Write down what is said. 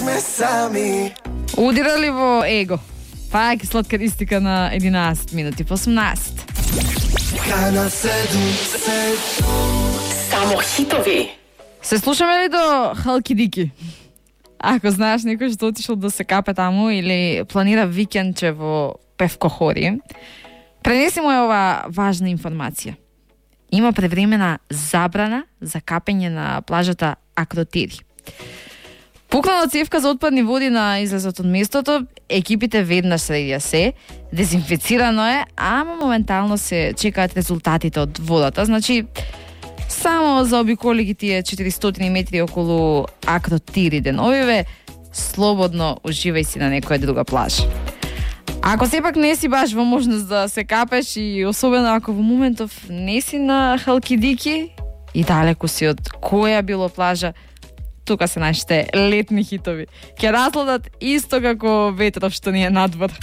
сме сами. Удирали во его. Пак сладкаристика на 11 минути по 18. Канал 7. Само хитови. Се слушаме ли до Халкидики? Ако знаеш некој што отишол да се капе таму или планира викендче во Певкохори, пренеси му ова важна информација. Има превремена забрана за капење на плажата Акротири. Пукнала цевка за отпадни води на излезот од местото, екипите веднаш средија се, дезинфицирано е, ама моментално се чекаат резултатите од водата, значи само заобиколи ги тие 400 метри околу Акротири деновиве, слободно уживај си на некоја друга плажа. Ако сепак не си баш во можност да се капеш и особено ако во моментов не си на Халкидики и далеку си од која било плажа, тука се нашите летни хитови. Ќе разгладат исто како ветров што ни е надвор.